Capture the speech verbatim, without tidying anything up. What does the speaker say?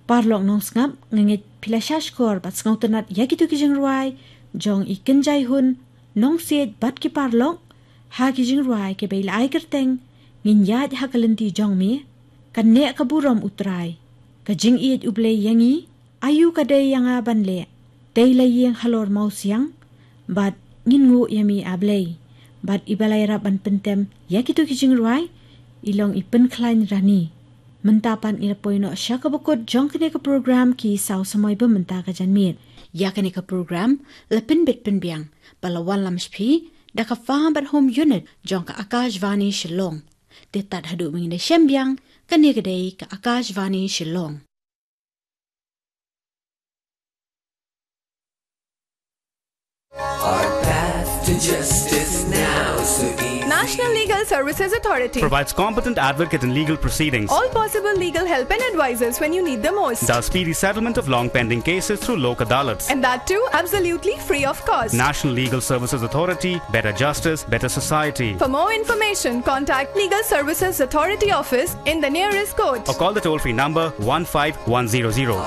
Paralok nongsngap, nga ngeit phi la shah shkor bad sngewtynnat ïa kito ki jingrwai jong i Kynjai Hun, Nongsiej bad ki paralok ha ki jingrwai kiba i la ai kyrteng Ngin Ïaid ha ka Lynti Jong Me, Ka Neh Ka Burom U Trai, Ka Jingïeit U Blei ïa Ngi, Aïu Ka Dei ïa Nga Ban Leh, Dei La Ïing Halor Mawsiang, bad Ngin Nguh Ïa Me A Blei. Bad iba la ïarap ban pyntem ïa kito ki jingrwai i long i Pynkhlaiñ Rani. Mynta pat ngi la poi noh sha kaba kut jong kane ka program Ki Saw Samoi ba mynta ka janmiet. Ïa kane ka program la pynbit pynbiang bad la wanlam sha phi da ka Farm and Home Unit jong ka Akashvani Shillong. Te tad haduh ba ngin da shem biang, kane ka dei ka Akashvani Shillong. Our path to justice now so easy. National Legal Services Authority provides competent advocate in legal proceedings. All possible legal help and advices when you need the most. Does speedy settlement of long pending cases through Lok Adalats. And that too, absolutely free of cost. National Legal Services Authority, better justice, better society. For more information, contact Legal Services Authority office in the nearest court. Or call the toll-free number one five one zero zero.